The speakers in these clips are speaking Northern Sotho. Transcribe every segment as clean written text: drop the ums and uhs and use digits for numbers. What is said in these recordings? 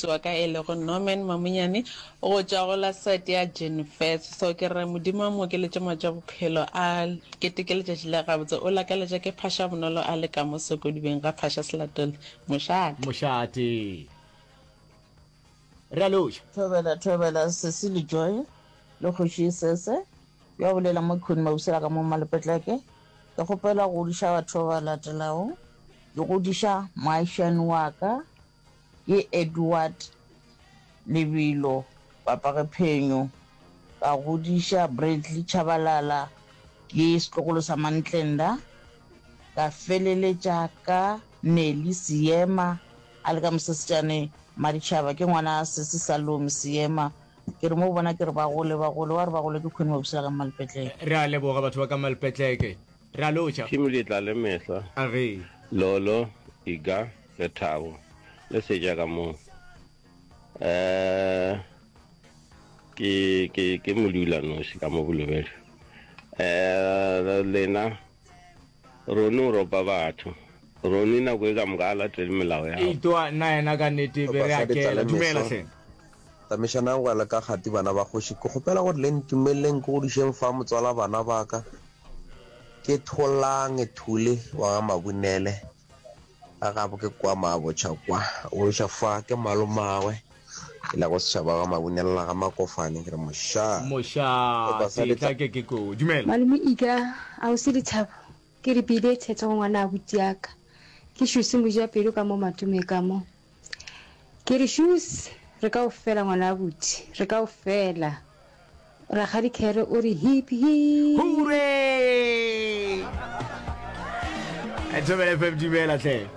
Ausi wa ka e lego Norman Mamunyane go tšwa go la site ya Jenfets. So ke re Modimo a mo okeletše matšu a bophelo a keteke letšatši la gabotse. O lakaletša ke Phasha Bonolo a le ka mo Sokodibeng ga Phasha Selatole. Mošate. Mošate. Re a loša. Thobela, thobela, Sesi le Joy le Kgoši Sese, yo a bolela mo Queen Mabusela ka mo Malepetleke. Ke kgopela go godiša batho ba ba latelago. Ke godiša moagišani wa ka, ke Edward Lebilo Papage Phenyo. Ka godiša Bradley Tshabalala, ke setlogolo sa Mantlenda. Ka feleletša ka Nelly Seema a le ka Mosesejane Maditšhaba, ke ngwana Sesi Salome Seema. Ke re mo go bona ke re ba gole, ba gole, wa re ba gole ke Queen Mabusela ka Mmalpetleke. Re a leboga batho ba ka Mmalpetleke. Re a lotšha. Team le tla le mehla. A ge. Lolo, Iga, Lethabo le Seja ka mo. Eh ke ke ke modula nosi ka mo Bolobedu. Eh lena Roni o ropa batho. Roni nako e ka moka a latele melao ya. Eitoa nna yena ka nnete be re a Sehlopha sa kela. Ditla le Dumela Meso. hle. Tamišanang go ya le ka kgati bana ba kgoši. Ke kgopela gore le ntumeleleng ke godišeng fa motswala bana ba ka. Ke Tholang Thule wa ga Mabunele. Ga gabo ke kwa Mabotšha kwa. O godiša fa ke malomagwe e lego setšhaba ga Mabunele la ga Makofane. Ke re mošaa. Mošaa Sehlopha sa tetla Ditla. ke ke koo. Dumela. Malome Ika, Ausi Lethabo, ke re bile thetho go ngwana abuti ya ka. Ke Shusi Mojapelo ka mo Matume ka mo. Ke re Shusi, re ka o fela ngwana abuti, re ka o fela. Rakgadi Khere o re hip hip. Hooray! Thobela FM dumela hle.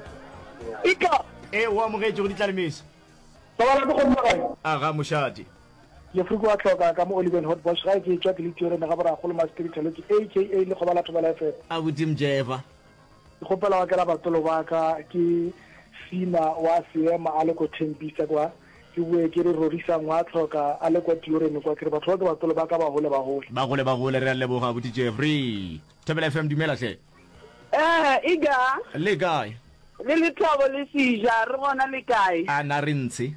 Ika. E o amogetše go ditlalemeso. Sobala ke kgomme gae. Aga mošate. Jeffrey ke wa hloka ka mo Oliven Hot Bosch gae ke etšwa ke le Tiorene ga Borakgolo Masteri Thelotse aka Lekgoba la Thobela FM. Abuti Mjeva. Ke kgopela wa kela batsolo ba ka ke Sina wa Seema a le ko Tembisa kwa ke boe ke re Rorisang wa hloka a le kwa Tiorene kwa ke re batho ba ke batsolo ba ka ba hole ba hole. Ba gole ba gole re a leboga abuti Jeffrey. Thobela FM dumela hle. Eh, Iga. Le kae? Le Lethabo le Seja, re gona le kae? A na re ntshe.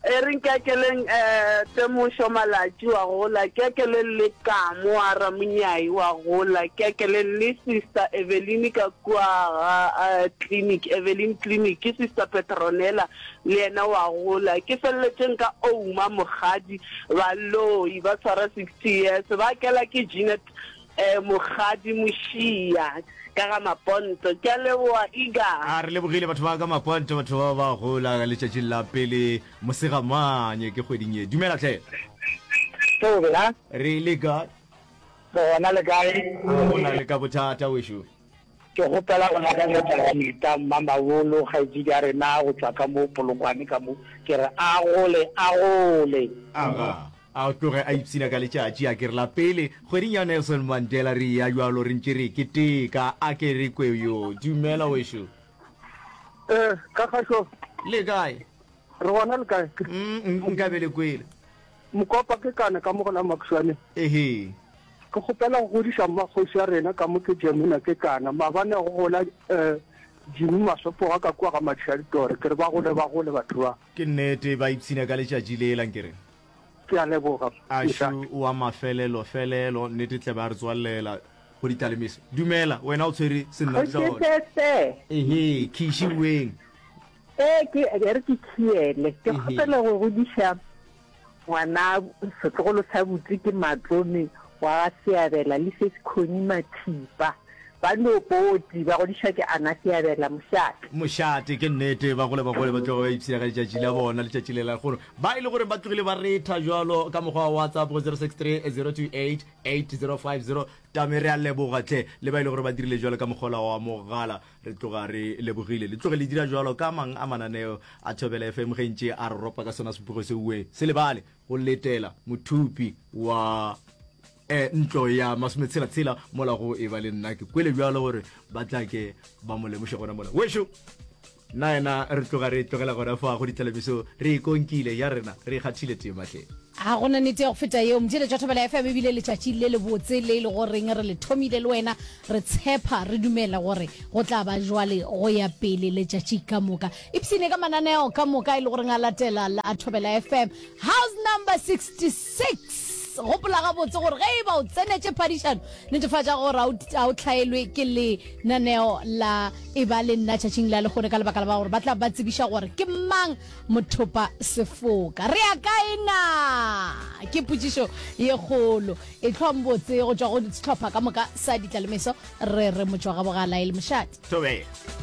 E re nkekeleng eh, Temošo Malatši wa gola, kekeleng le Kamo wa Ramunyai wa gola, kekeleng le Sister Eveline ka kua ga eh, clinic, Eveline Clinic, ke Sister Petronella le yena wa gola. Ke feleletšeng ka Ouma Mokgadi, baloi ba tshwara 60 years, ba kela ke Jeanette Eh Mokgadi Mošia ka ga Maponto. Ke a leboga Iga. A re lebogile batho ba ka Maponto, batho ba ba gola letšatšing la pele Mosegamanye ke kgweding ye. Dumela hle. Thobela. Re le kae? Re gona le kae? A go na le ka bothata wešo. Ke kgopela go lakaletša Rita Mmamabolo kgaetšedi ya rena go tšwa ka mo Polokwane ka mo, ke re a gole a gole. Aga, a tloge a ipshina ka letšatši, a ke re la pele kgweding ya Nelson Mandela re eya bjalo re ntše re keteka, a ke re kwe yo. Dumela wešo. Eh, ka kgašo. Le kae? Re gona le kae? Mm, nka be le kwele. Mokopa ke kana ka mo go la Makhuswane. Ehe. Ke kgopela go godiša mmakgoši ya rena ka mo ke Jemina ke kana. Maabane go gola eh Jimmy Masopoga ka kua ga Matšhaditore. Ke re ba gole ba gole batho ba. Ke nnete ba ipshina ka letšatši lela nkere. Ke a leboga. Ašu wa mafelelo felelo nnete tle ba re tswallela go ditlalemeso. Dumela wena o tshwere senna. Ehe, khiši weng. Ee, ke e re ke khiele. Ke kgopela go godiša ngwana setlogolo sa butse ke Matlome wa ga Seabela le Sesikhoni Mathipa. Ba no poti ba godišwa ke Ana Seabela Mošate. Mošate, ke nnete, ba gole ba gole ba tloga ba ipshina ka letšatši la bona, letšatši le la lehono. Ba e le gore ba tlogile ba retha jwalo ka mokgwa wa WhatsApp go 063 028 8050. Tame re a leboga hle le ba e le gore ba dirile jwalo ka mokgwa wa mogala. Re tloga re lebogile. Le tloge le dira jwalo ka mang a mananeo a Thobela FM ge ntše a re ropa ka sona sephugo se uwe. Se lebale go letela mothupi wa eh, ntlo ya masometshela-tshela mola go e ba le nna. Ke kwele bjalo gore ba tla ke ba mo lemoše gona mola. Wešo! Nna yena re tloga re e tlogela gona fa go ditlalemeso, re e konkile ya rena, re e kgathile tema hle. Ga go na nnete ya go feta yeo. Motšheletšo wa Thobela FM e bile letšatši le lebotse le e le goreng re le thomile le wena. Re tshepa, re dumela gore go tla ba jwale go ya pele letšatši ka moka. Ipshine ka mananeo ka moka e le goreng a latela la a Thobela FM. House number 66. Gopola gabotse gore ge e ba o tsenetše phadišano, netefatša gore ga o hlaelwe ke lenaneo la E ba le nna tšatšing la lehono ka lebaka la ba gore ba tla ba tsebiša gore ke mang mothopa sefoka. Re ya kae na? Ke potšišo ye kgolo. E hlwang botse go tšwa go sehlopha ka moka sa Ditlalemeso. Re re motšwagabogala e le mošate. Thobela.